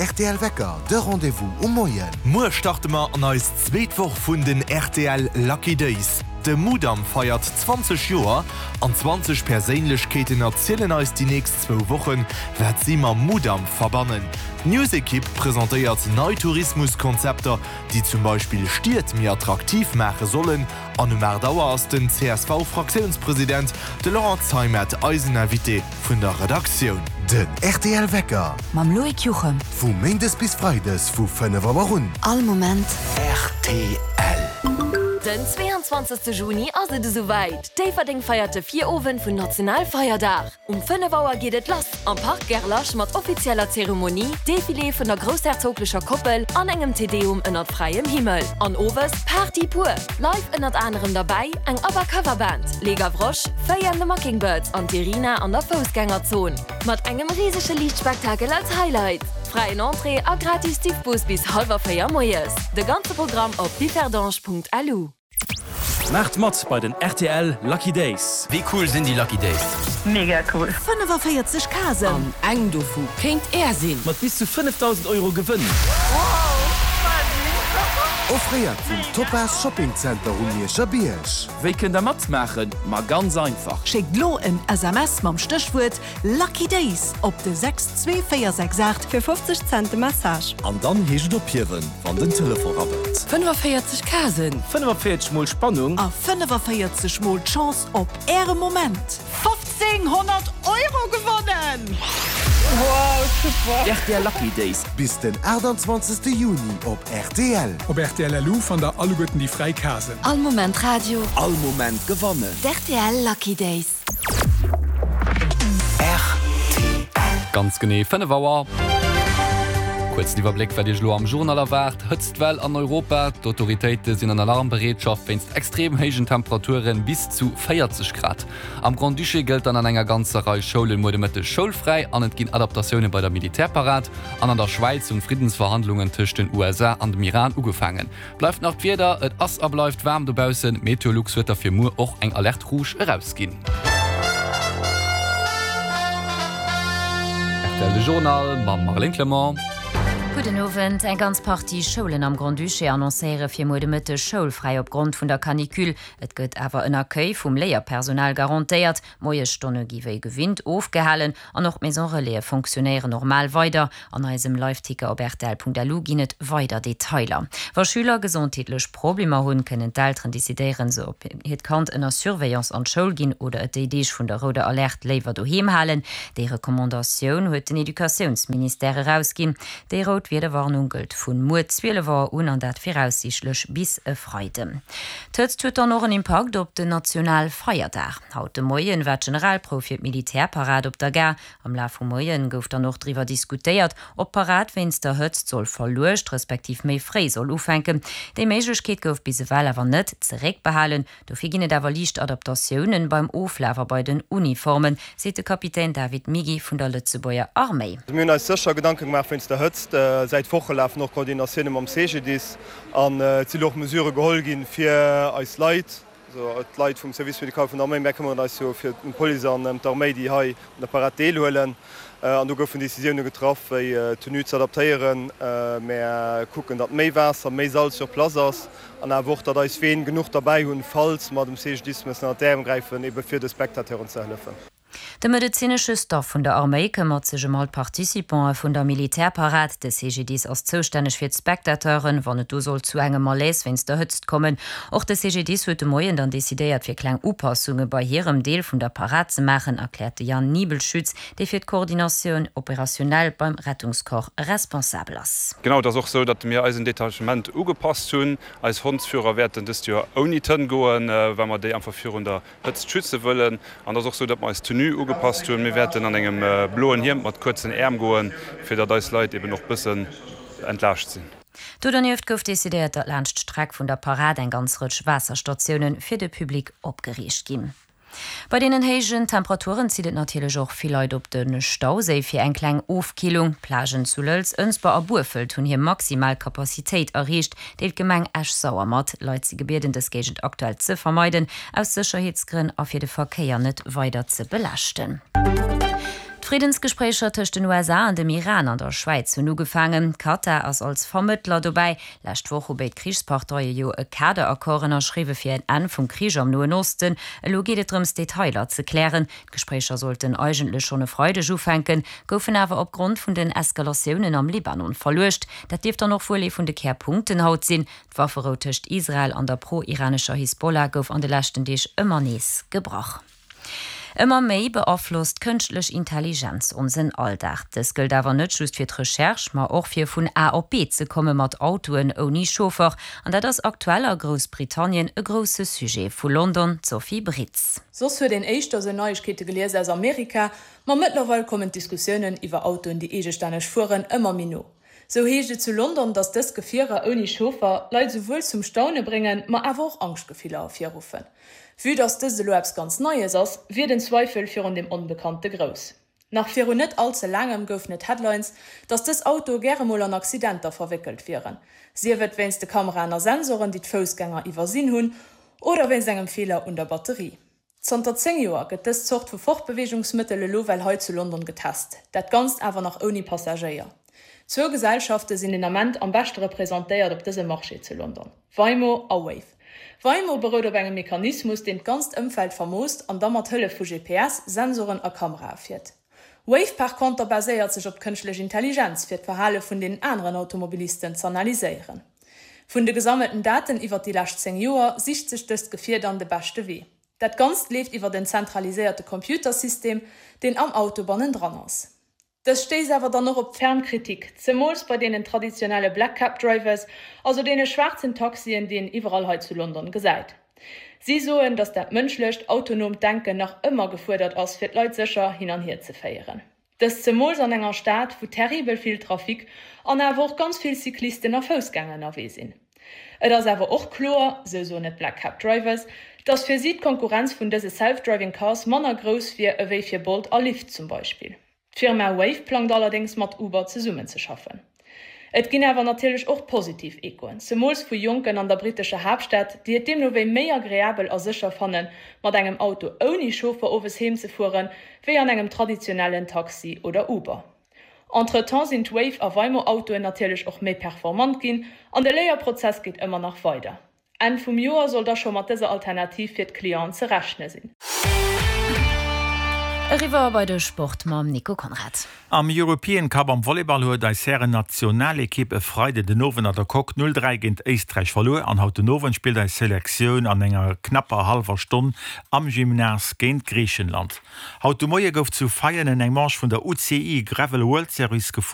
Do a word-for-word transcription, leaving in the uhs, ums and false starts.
rtl Wecker, de Rendez-vous um Moien. Muer starte mer an eis zweet Woch vun den rtl Lucky Days. De Mudam feiert zwanzeg Joer an zwanzeg Perséinlechkeeten erzielen eis déi nächst zwou Wochen, wat si mam Mudam verbannen. D'News-Ekipp presentéiert nei Tourismuskonzepter, déi zum Beispill Stied méi attraktiv maache sollen. An um aacht Auer ass den C S V-Fraktiounspresident, de Laurent Zeimet, eisen Invité vun der Redaktioun. Den rtl Wecker. Mam Loïc Juchem. Vu méindes bis freides vu fënnef Auer un. All Moment. Rtl. Den zweeanzwanzegste Juni ass et esouwäit, Déifferdeng feiert de Virowend vun Nationalfeierdag. Um fënnef Auer geet et lass am Parc Gerlache mat offizieller Zeremonie, Defilé vun der groussherzoglecher Koppel an engem Te Deum ënnert fräiem Himmel. An owes Party pur! Live ënnert anerem derbäi eng ABBA Cover Band, Les Gavroches, Faye and the Mockingbirds an d'Irina an der Foussgängerzon. Mat engem risege Liichtspektakel als Highlight. Fräien Entrée a gratis Diffbus bis hallwer véier moies. De ganze Programm op differdange Punkt L U. Maacht mat bei den rtl Lucky Days! Wéi cool sinn déi Lucky Days? Mega cool! fënnefaféierzeg Kasen! An eng dovu kéint Är sinn! Mat bis zu fënnefdausend Euro Gewënn! Offréiert vum Topaz Shopping Center um Mierscher Bierg. Wéi kënnt der matmaachen? Ma ganz einfach! Schéckt lo en S M S mam Stéchwuert Lucky Days op de sechs zwee véier sechs aacht. Fir fofzeg Cent de Message. An dann heescht et ophiewen, wann den Telefon rabbelt. fënnefaféierzeg Kasen! fënnefaféierzeg mol Spannung! A fënnefaféierzeg mol d'Chance op Äre Moment! Fofzénghonnert Euro gewonnen! Wow, super! Rtl Lucky Days. Bis den aachtanzwanzegste Juni op rtl. Op rtl L U fannt der alleguerten déi fräi Kasen. All Moment Radio. All Moment gewannen. D'R T L Lucky Days. Ganz genee fënnef Auer. Kuerzen Iwwerbléck, wat Iech elo am Journal erwaart, Hëtztwell an Europa, D'Autoritéite sinn an Alarmbereetschaft wéinst extrem héijen Temperaturen bis zu véierzeg Grad. Am Grand-Duché gëllt dann an enger ganzer Rei Schoulen muer de Mëtteg schoulfräi an et ginn Adaptatioune bei der Militärparad. An an der Schwäiz hunn d'Friddensverhandlungen tëscht den U S A an dem Iran ugefaangen. Bleift nach d'Wieder, Et ass a bleift waarm dobaussen, Meteolux huet derfir muer och eng Alerte rouge erausginn. R T L De Journal mam Marlène Clement. Gudden Owend. Eng ganz Partie Schoulen am Grand-Duché annoncéiere fir muer de Mëtteg schoulfräi opgrond vun der Canicule. Et gëtt awer en Accueil vum Léierpersonal garantéiert. Moiesstonne gi wéi gewinnt ofgehalen an och d'Maison Relaise fonctionnéieren normal weider. An eisem Liveticker op rtl Punkt L U ginn et weider Detailer. Wa Schüler gesondheetlech Problemer hunn, kënnen d'Elteren decidéieren, se ob hiert Kand ënner Surveillance an d'Schoul ginn oder et déi Deeg vun der rouder Alerte léiwer doheem halen. Déi Recommandatioun huet den Educatiounsministère erausginn. Déi rout Wiederwarnung gëllt vun muer zwielef Auer un an dat viraussiichtlech bis e Freiden. D'Hëtzt huet dann och en Impakt op den Nationalfeierdag. Haut de Moien war d'Generalprouf fir d'Militärparad op der Gare. Am Laf vum Moien gouf dann och driwwer diskutéiert, ob d'Parad wéinst der Hëtzt soll verluecht, respektiv méi fréi soll ufänken. Déi Méiglechkeet gouf bis ewell awer net zeréckbehalen. Dofir ginn et awer liicht Adaptatiounen beim Oflaf a bei den Uniformen, seet de Kapitän David Migi vun der Lëtzebuerger Arméi. Mir hunn eis sécher Gedanke gemaach wéinst der Hëtzt. Säit Woche lafen och Koordinatioune mam C G D I S an et sinn och Mesurë geholl ginn, fir eis Leit, also d'Leit vum Service médical vun der Arméi, mär këmmeren eis jo fir d'Police an ëm d'Arméi, déi hei un der Parad deelhuelen. An do goufen Decisioune getraff, wéi d'Tenue ze adaptéieren. Mär kucken, datt méi Waasser, méi Salz sur place ass an awer och, datt eis Ween genuch derbäi hunn, falls mer dem C G D I S mussen ënner d'Äerm gräifen, ebe fir de Spectateuren ze hëllefen. De medezinesche Staff vun der Arméi këmmert sech ëm all d'Participante vun der Militärparad. De C G D I S ass zoustänneg fir d'Spectateuren, wann et do sollt zu engem Malaise wéinst der Hëtzt kommen. Och de C G D I S huet de Moien dann decidéiert, fir kleng Upassunge bei hirem Deel vun der Parad ze maachen, erkläert de Jan Niebelschütz, dee fir d'Coordination opérationnelle beim Rettungscorps responsabel ass. Genau, et ass och sou, datt mir eisen Detachement ugepasst hunn. Eis Hondsführer wäerten dëst Joer ouni d'Hënn goen, well mer déi einfach virun der Hëtzt schütze wëllen. An et ass och sou, datt mer eis Tenue ugepasst hunn. Mir wäerten an engem bloen Hiem mat kuerzen Äerm goen, fir datt eis Leit eben och bëssen entlaascht sinn. Do dernieft gouf decidéiert, datt laanscht d'Streck vun der Parad eng ganz Rëtsch Waasserstatioune fir de Public opgeriicht ginn. Bei deenen héijen Temperaturen zitt et natierlech och vill Leit op de Stauséi fir eng kleng Ofkillung. D'Plagen zu Lëlz, Ënsber a Burfelt hunn hir maximal Kapazitéit erreecht, deelt d'Gemeng Esch-Sauer mat. Leit si gebieden, dës Géigend aktuell ze vermeiden, aus Sécherheetsgrënn a fir de Verkéier net weider ze belaaschten. D'Friddensgespréicher tëscht den USA an dem Iran an der Schwäiz hunn ugefaangen. Katar ass als Vermëttler dobäi. Lescht Woch hu béid Krichsparteie jo e Kaderaccord ënnerschriwwe fir en Enn vum Krich am Noen Osten. Elo geet et drëms, Detailer ze klären. D'Gespréicher sollten eigentlech schonn e Freideg ufänken, goufen awer opgrond vun den Eskalatiounen am Libanon verluecht. Dat dierft dann och wuel ee vun de Kärpunkten haut sinn. D'Wafferou tëscht Israel an der pro-iranescher Hisbollah gouf an de leschten Deeg ëmmer nees gebrach. Ëmmer méi beaflosst d'kënschtlech Intelligenz onsen Alldag. Dës gëllt awer net just fir d'Recherche, ma och fir vun A op B ze komme mat Autoen ouni Chauffer. An dat ass aktuell a Groussbritannien e grousse Sujet. Vu London d'Sophie Britz. Soss huet een éischter sou Neiegkeete gelies aus Amerika, ma mëttlerweil kommen d'Diskussiounen iwwer Autoen, déi eegestänneg fueren, ëmmer méi no. Sou heescht et zu London, datt dës Gefierer ouni Chauffer Leit souwuel zum Staune bréngen, ma awer och Angschtgefiller ervirruffen. Vue datt dëst elo eppes ganz Neies ass, wier den Zweifel virun dem Onbekannte grouss. Nach virun net all ze laangem goufen et Headlines, datt dës Autoe gäre mol an Accidenter verwéckelt wieren, sief et wéinst de Kameraen a Sensoren, déi d'Foussgänger iwwersinn hunn, oder wéinst engem Feeler un der Batterie. Zanter zéng Joer gëtt dës Zort vu Fortbeweegungsmëttel elo well hei zu London getest, dat Ganzt awer nach ouni Passagéier. Zwou Gesellschafte sinn den Ament am beschte representéiert op dësem Marché zu London, Waymo a Wayve. Waymo berout op engem Mechanismus, deen d'ganzt Ëmfeld vermoosst an da mat Hëllef vu G P S, Sensoren a Kamerae fiert. Wayve par konter baséiert sech op d'kënschtlech Intelligenz, fir d'Verhale vun den aneren Automobilisten z'analyséieren. Vun de gesammelten Daten iwwer déi lescht zéng Joer sicht sech dëst Gefier dann de beschte Wee. Dat Ganzt leeft iwwer en zentraliséierte Computersystem, deen am Auto bannendran ass. Dës stéisst awer dann och op ferm Kritik, zemools bei deenen traditionelle Black Cab Drivers, also deene schwaarzen Taxien, déi een iwwerall hei zu London gesäit. Si soen, datt dat mënschlecht, autonoomt Denken nach ëmmer gefuerdert ass, fir d'Leit sécher hin an hier ze féieren. Dëst zemools an enger Stad, wou terribel vill Trafic an awer och ganz vill Cyclisten a Foussgänger ënnerwee sinn. Et ass awer och kloer, sou soen et d'Black Cab Drivers, dass fir si d'Konkurrenz vun dëse Self-Driving Cars manner grouss wier ewéi fir Bolt a Lyft zum Beispill. D'Firma Wayve plangt allerdéngs mat Uber zesummenzeschaffen. Et ginn awer natierlech och positiv Echoen, zemools vu Jonken an der brittescher Haaptstad, déi et deemno wéi méi agreabel a sécher fannen, mat engem Auto ouni Chauffer owes heem ze fueren, wéi an engem traditionellen Taxi oder Uber. Entretemps sinn d'Wayve a Waymo-Autoen natierlech och méi performant ginn an de Léierprozess geet ëmmer nach weider. Enn vum Joer soll da scho mat dëser Alternativ fir d'Clienten ze rechne sinn. Eriwwer bei de Sport mam Nico Conrad. Am European Cup am Volleyball huet eis Hären-Nationalekipp e Freiden den Owend an der Coque null dräi géint Éisträich verluer an haut den Owend spillt eis Selektioun an enger knapper hallwer Stonn am Gymnase géint Griichenland. Haut de Moie gouf zu Veianen eng Manche vun der U C I Gravel World Series gefuer.